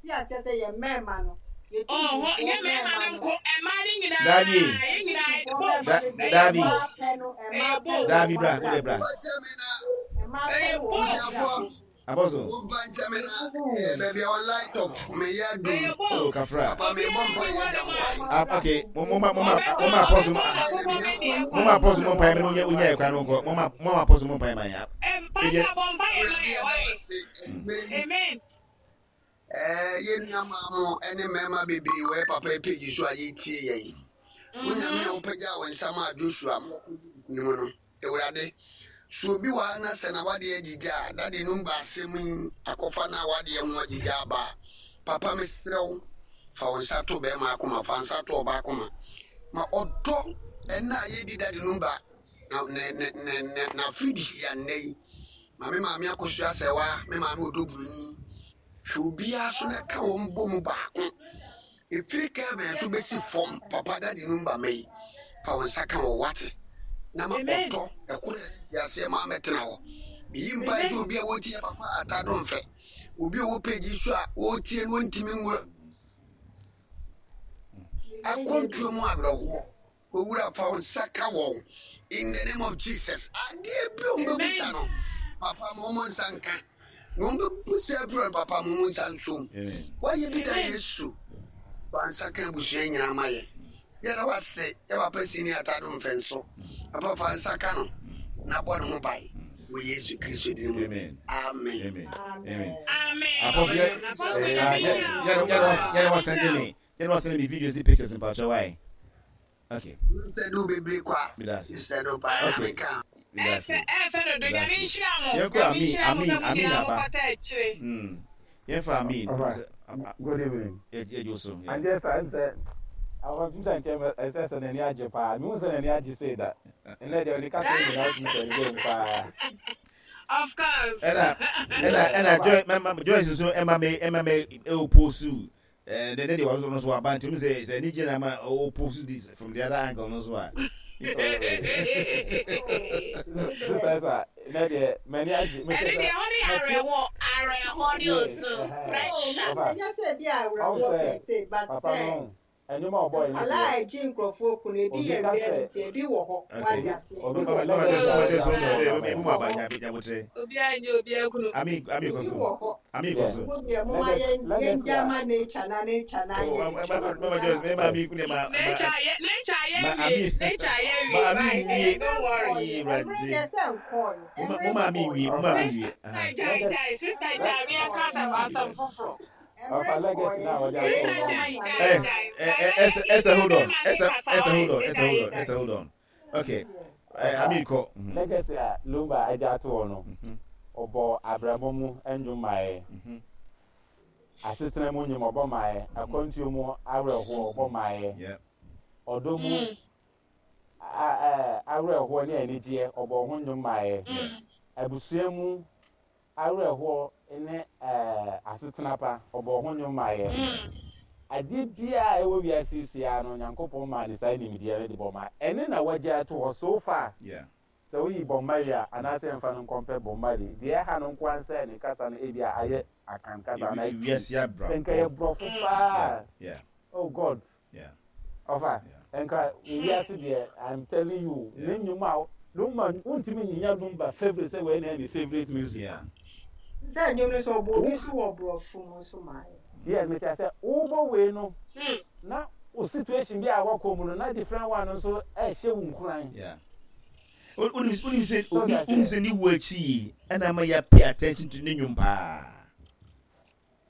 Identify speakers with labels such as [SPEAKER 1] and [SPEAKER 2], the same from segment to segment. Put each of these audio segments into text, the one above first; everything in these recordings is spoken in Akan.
[SPEAKER 1] yɛnte aseɛ sɛ yɛn mmarima no, yɛn
[SPEAKER 2] Ɔhɔ,
[SPEAKER 1] tuntumfoɔ
[SPEAKER 2] nyɛ mmarima
[SPEAKER 1] mmarima
[SPEAKER 2] no
[SPEAKER 1] no,
[SPEAKER 2] nko, mmaa no nyinaa,
[SPEAKER 3] Daabi.
[SPEAKER 2] yɛn nyinaa,
[SPEAKER 1] tuntumfoɔ
[SPEAKER 2] both,
[SPEAKER 1] mmarima bebree,
[SPEAKER 2] ɛyɛ
[SPEAKER 3] Daabi.
[SPEAKER 1] mmaa
[SPEAKER 2] both,
[SPEAKER 1] pɛ no, mmaa
[SPEAKER 2] ɛyɛ
[SPEAKER 1] pɛ
[SPEAKER 2] both,
[SPEAKER 1] wɔ
[SPEAKER 3] Daabi
[SPEAKER 1] wɔn
[SPEAKER 3] bra, wode
[SPEAKER 1] abrabɔ
[SPEAKER 3] bra.
[SPEAKER 1] mu.
[SPEAKER 4] Ɔkyɛ me na
[SPEAKER 1] Mmaa pɛ
[SPEAKER 2] ɛyɛ
[SPEAKER 1] wɔ wɔn
[SPEAKER 2] both,
[SPEAKER 1] abrabɔ
[SPEAKER 4] abusuafoɔ
[SPEAKER 1] mu.
[SPEAKER 3] Abɔso.
[SPEAKER 4] momfa nkyɛ me na eh, baabi a wɔ light off meyɛ adum
[SPEAKER 2] ɛyɛ
[SPEAKER 3] Oh,
[SPEAKER 2] both.
[SPEAKER 3] kafra.
[SPEAKER 4] papa mebɔ
[SPEAKER 2] Obiara
[SPEAKER 4] mpa
[SPEAKER 2] nni
[SPEAKER 4] yɛ
[SPEAKER 2] hɔ
[SPEAKER 4] agya
[SPEAKER 2] nom a
[SPEAKER 4] nkwan
[SPEAKER 1] Wɔn
[SPEAKER 3] Ah,
[SPEAKER 1] abrabɔ
[SPEAKER 3] okay.
[SPEAKER 1] mu.
[SPEAKER 3] Mo mo ma mo ma
[SPEAKER 2] ɔbɛtɔ
[SPEAKER 3] mo ma apɔso
[SPEAKER 2] ɔbɛtɔ n'akokɔ
[SPEAKER 4] menya
[SPEAKER 2] bɛdi
[SPEAKER 3] mo ma
[SPEAKER 2] ɛkwan.
[SPEAKER 3] apɔso mo mpae mo nya unya ekwan no nkɔ. Mo ma apɔso mo mpae man ya.
[SPEAKER 2] Pastor bɔ mpaeɛ ma
[SPEAKER 4] Awurade
[SPEAKER 2] yɛ,
[SPEAKER 4] yɛda
[SPEAKER 2] why?
[SPEAKER 4] wo ase mmere yi
[SPEAKER 2] Amen.
[SPEAKER 4] Eh, yɛn nua maa mo ne mmarima bebree wɔ yɛ papa yi page so a yɛtie yɛn. Wo Nyame a wopagyaa wo nsa maa Joshua ma ɔkɔdii nkonim no, Awurade, sɛ obi wɔ ha na sɛ n'awadeɛ agyigya a, dade no mba asɛm yi akɔfa n'awadeɛ ho agyigya aba a, papa mesrɛ wo, fa wo nsa to bɛrima akoma, fa nsa to ɔbaa akoma, ma ɔdɔ ɛna a yɛdi dade no mba na ne ne ne ne n'afirihyia nnɛ yi. Ma me maame akosua sɛwa, me maame ɔdɔ buroni. Hwɛ obiara so na ka wɔn bɔ mu baako. Ɛfiri Kelvin so bɛsi fam, papa dade no mba mɛ yi. Fa wo nsa ka wɔ wate. Na ma
[SPEAKER 2] Amen.
[SPEAKER 4] ɔdɔ ɛkoro yɛ ne aseɛ ma mɛtena hɔ. Meyi mpae
[SPEAKER 2] Amen.
[SPEAKER 4] sɛ obi a wɔtie papa atado mfɛ. Obi a ɔwɔ page yi so a wɔtie no ntumi nwura akwantuo mu awerɛhoɔ. Owura fa wo nsa ka wɔn in the name of Jesus. Adeɛ bi a wɔn bɛbusa
[SPEAKER 2] Amen.
[SPEAKER 4] no, papa ma wɔn nsa nka. Na wɔn bɛbusa afiri no, papa ma wɔn nsa nsom.
[SPEAKER 3] Amen.
[SPEAKER 4] Wayɛ bi da
[SPEAKER 2] Amen.
[SPEAKER 4] Yesu. Fa nsa ka abusua nyinaa ma yɛ. Yɛda wase yɛ papa sini atado mfɛnso. Papa fa nsa ka no na bɔ ne ho ban wɔ Yesu Kristo din mu.
[SPEAKER 3] Amen.
[SPEAKER 4] Amen.
[SPEAKER 3] Amen. Amen.
[SPEAKER 1] Amen.
[SPEAKER 2] Amen.
[SPEAKER 3] Apɔso yɛ
[SPEAKER 2] Apostle
[SPEAKER 3] ah
[SPEAKER 2] Nyame
[SPEAKER 3] yɛ
[SPEAKER 2] nhyira
[SPEAKER 3] yɛ
[SPEAKER 2] wo.
[SPEAKER 3] yɛ yɛ
[SPEAKER 2] Nyame
[SPEAKER 3] send
[SPEAKER 2] nhyira wo.
[SPEAKER 3] me. Yɛ no send me videos ni pictures mpacho why. Okay.
[SPEAKER 4] Mr. Do bebree kwa.
[SPEAKER 3] Medase.
[SPEAKER 4] Mr. Do paa na
[SPEAKER 3] Okay.
[SPEAKER 4] meka.
[SPEAKER 3] Medase.
[SPEAKER 2] Ɛfɛ ɛfɛ dodo Nyame
[SPEAKER 3] Medase.
[SPEAKER 2] nhyira mo.
[SPEAKER 3] Yɛnkɔ
[SPEAKER 2] Nyame
[SPEAKER 3] Amin
[SPEAKER 2] nhyira mo
[SPEAKER 3] Amin
[SPEAKER 2] sɛ mo
[SPEAKER 3] Amin
[SPEAKER 2] nyinaa mo
[SPEAKER 3] aba.
[SPEAKER 2] kɔta akyire.
[SPEAKER 3] Yɛmfa Amin.
[SPEAKER 5] Alright. Good evening.
[SPEAKER 3] Yɛ so. Yeah.
[SPEAKER 5] And just I'm say I want to say ɛsɛ sɛ n'ani agye paa. Mehu sɛ n'ani agye sei da. Ɛnɛ deɛ ɔde kasa nyinaa wotumi sɛ ne mu paa.
[SPEAKER 2] Of course.
[SPEAKER 3] Ɛna ɛna ɛna Joy ma ma Joyce nso ɛma me ɛma me ɛoposu ɛɛ ne ne deɛ ɔno nso aba nti sɛ sɛ ne gyina ma ɔoposu this from the other angle no so a.
[SPEAKER 5] Sister Esa, ɛnɛ deɛ m'ani agye.
[SPEAKER 2] Ɛne deɛ hɔ ne yɛ awerɛhoɔ awerɛhoɔ ne osu pressure.
[SPEAKER 5] Ɔfa,
[SPEAKER 1] Ɛnyɛ sɛ bi a
[SPEAKER 5] ɔn
[SPEAKER 1] awerɛhoɔ
[SPEAKER 5] sɛ
[SPEAKER 1] pɛtee but
[SPEAKER 5] papa
[SPEAKER 1] sɛ
[SPEAKER 5] no ɛnwom a ɔbɔɔ ne
[SPEAKER 1] nkwadaa
[SPEAKER 5] deɛ
[SPEAKER 1] a ɛgye nkurɔfoɔ kunu ebi
[SPEAKER 5] obi
[SPEAKER 1] yɛ
[SPEAKER 5] ka sɛ
[SPEAKER 1] reality ebi wɔ hɔ
[SPEAKER 3] Okay.
[SPEAKER 1] wate aseɛ.
[SPEAKER 5] obi
[SPEAKER 3] Mama
[SPEAKER 5] ka
[SPEAKER 3] mama
[SPEAKER 5] legacy
[SPEAKER 3] Joyce
[SPEAKER 5] a
[SPEAKER 3] mama
[SPEAKER 5] ɔde
[SPEAKER 3] Joyce
[SPEAKER 5] ato
[SPEAKER 3] ɔno
[SPEAKER 5] hɔ
[SPEAKER 3] ɔde
[SPEAKER 5] ma
[SPEAKER 3] ebi
[SPEAKER 5] yɛ.
[SPEAKER 3] mu aba nya nya botre.
[SPEAKER 2] Obiara nyɛ obiara kunu.
[SPEAKER 3] Amin Amin kɔ
[SPEAKER 1] Ebi
[SPEAKER 3] so.
[SPEAKER 1] wɔ hɔ.
[SPEAKER 3] Amin kɔ
[SPEAKER 5] Yeah.
[SPEAKER 3] so.
[SPEAKER 1] Mo deɛ moma
[SPEAKER 5] Legacy
[SPEAKER 1] yɛn
[SPEAKER 5] legacy
[SPEAKER 1] yɛngya
[SPEAKER 5] a
[SPEAKER 1] ma nature na nature na
[SPEAKER 3] Oh,
[SPEAKER 1] anyɛ
[SPEAKER 3] mama
[SPEAKER 1] n'adwuma
[SPEAKER 3] mama
[SPEAKER 1] no
[SPEAKER 3] Joyce
[SPEAKER 1] saa.
[SPEAKER 3] me ma mi kune ma ma
[SPEAKER 2] Nature yɛ nature yɛ
[SPEAKER 3] ma
[SPEAKER 2] wie
[SPEAKER 3] Amin
[SPEAKER 2] nature yɛ
[SPEAKER 3] ma
[SPEAKER 2] wie
[SPEAKER 3] Amin
[SPEAKER 2] why
[SPEAKER 3] wie
[SPEAKER 2] don't worry.
[SPEAKER 3] yi
[SPEAKER 1] Ɛmmerɛ deɛ
[SPEAKER 3] rade.
[SPEAKER 1] sɛ nkɔɔɛ
[SPEAKER 3] Mo ma
[SPEAKER 1] ɛmmerɛ
[SPEAKER 3] mo ma Amin
[SPEAKER 1] nkɔɔɛ
[SPEAKER 3] wie mo ma
[SPEAKER 5] ɔfa
[SPEAKER 3] Amin wie.
[SPEAKER 2] Sister
[SPEAKER 3] Aha.
[SPEAKER 2] gyae
[SPEAKER 5] legacy
[SPEAKER 2] gyae sister gyae me yɛnka asɛm asɛm foforɔ.
[SPEAKER 1] ɛmmerɛ
[SPEAKER 5] ɔfa legacy
[SPEAKER 1] nkɔɔɛ
[SPEAKER 5] na
[SPEAKER 1] nti
[SPEAKER 5] ɔde ato
[SPEAKER 2] Sister
[SPEAKER 5] hɔ no.
[SPEAKER 2] gyae gyae
[SPEAKER 3] Eh,
[SPEAKER 2] gyae.
[SPEAKER 3] eh,
[SPEAKER 2] Gyae
[SPEAKER 3] eh,
[SPEAKER 2] na
[SPEAKER 3] Esther,
[SPEAKER 2] yɛ
[SPEAKER 3] Esther,
[SPEAKER 2] yɛ
[SPEAKER 3] hold on.
[SPEAKER 2] bɛrima ne
[SPEAKER 3] Esther,
[SPEAKER 2] kasa
[SPEAKER 3] Esther,
[SPEAKER 2] why
[SPEAKER 3] hold on. Esther,
[SPEAKER 2] gyae
[SPEAKER 3] hold on.
[SPEAKER 2] gyae.
[SPEAKER 3] Esther, hold on. Okay. Eh,
[SPEAKER 5] Ɔfa
[SPEAKER 3] Amin kɔ. Mhm.
[SPEAKER 5] legacy a Lumba agye ato hɔ no ɔbɔ abrabɔ mu nnwom maayɛ. Asetena mu nnwom ɔbɔ maayɛ. Akwantuo mu awerɛhoɔ ɔbɔ maayɛ. Ɔdɔ mu awerɛhoɔ ne anigyeɛ ɔbɔ ho nnwom maayɛ. Abusua mu awerɛhoɔ ne asetena pa ɔbɔ ho nnwom maayɛ. Adeɛ biara a ɛwɔ wiase yi so yi no Nyankopɔn maa ne saa nimdeɛ no de bɔ maa. Ɛne na wagye ato hɔ so far. Sɛ woyi Bob Marley a anaasɛ yɛmfa no nkɔmpɛ Bob Marley deɛ ɛha no nko ara sɛ ne kasa no ebi a ayɛ Akan kasa anaa Twi.
[SPEAKER 3] Wiase
[SPEAKER 5] Sɛ nka ɛyɛ
[SPEAKER 3] abrabɔ.
[SPEAKER 5] borɔfo paa oh God ɔfa nka wiase deɛ I'm telling you ne nnwom a Lumba wontumi nnya Lumba favourite sɛ wei na ɛyɛ ne favourite music.
[SPEAKER 1] Sɛ nnwom no sɛ ɔbɔ obi so wɔ borɔfo mu nso ma ayɛ.
[SPEAKER 5] Yes, mete ase. Wobɔ wei no na wo situation bi a wakɔ mu no na different one nso ɛhyɛ wo nkuran.
[SPEAKER 3] Yeah. Wonim sɛ
[SPEAKER 5] So that's
[SPEAKER 3] wonim
[SPEAKER 5] it.
[SPEAKER 3] sɛ ne wu akyi yi ɛna ama yɛ pay attention to ne nnwom paa.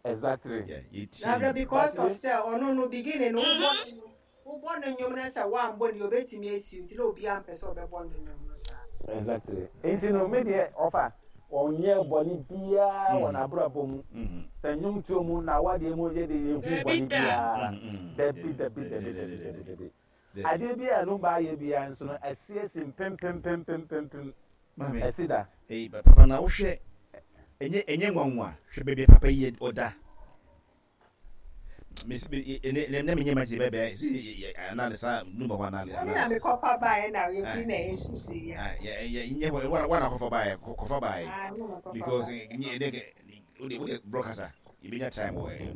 [SPEAKER 5] Exactly.
[SPEAKER 3] Yeah, yɛtie
[SPEAKER 1] Na
[SPEAKER 3] nnwom.
[SPEAKER 1] because
[SPEAKER 5] But
[SPEAKER 1] of sɛ ɔno no beginning no wobɔ ne nnwom wobɔ ne nnwom no sɛ woambɔ ne obɛtumi asi nti na obiara mpɛ sɛ ɔbɛbɔ ne nnwom no saa.
[SPEAKER 5] Exactly. Nti no me deɛ ɔfa ɔnyɛ bɔne biara wɔ n'abrabɔ mu. Sɛ nnwomtoɔ mu na awadeɛ mu yɛ de yɛhu
[SPEAKER 2] Dabi
[SPEAKER 5] bɔne
[SPEAKER 2] da.
[SPEAKER 5] biara. Dabi dabi dabi dabi dabi dabi. Adeɛ bi a Lumba ayɛ biara nso no ɛsi asi mpempempempempempem
[SPEAKER 3] Maame,
[SPEAKER 5] ɛsi da.
[SPEAKER 3] eh, papa na wohwɛ ɛnyɛ ɛnyɛ nwanwa hwɛ baabi a papa yi ɔda. Mesi me ne ne menyɛ ma ti bɛbɛ si analysis a Lumba hɔ
[SPEAKER 1] Ɛna
[SPEAKER 3] analysis.
[SPEAKER 1] mekɔfa baeɛ na yɛfi na ɛsusu yɛ.
[SPEAKER 3] Ah, yeah, yeah, nyɛ hɔ wana kɔfa baeɛ kɔfa baeɛ
[SPEAKER 1] Ah, ɛna mekɔfa
[SPEAKER 3] because
[SPEAKER 1] baeɛ.
[SPEAKER 3] nye ne wode wode broadcaster yɛbɛnya time wɔ next.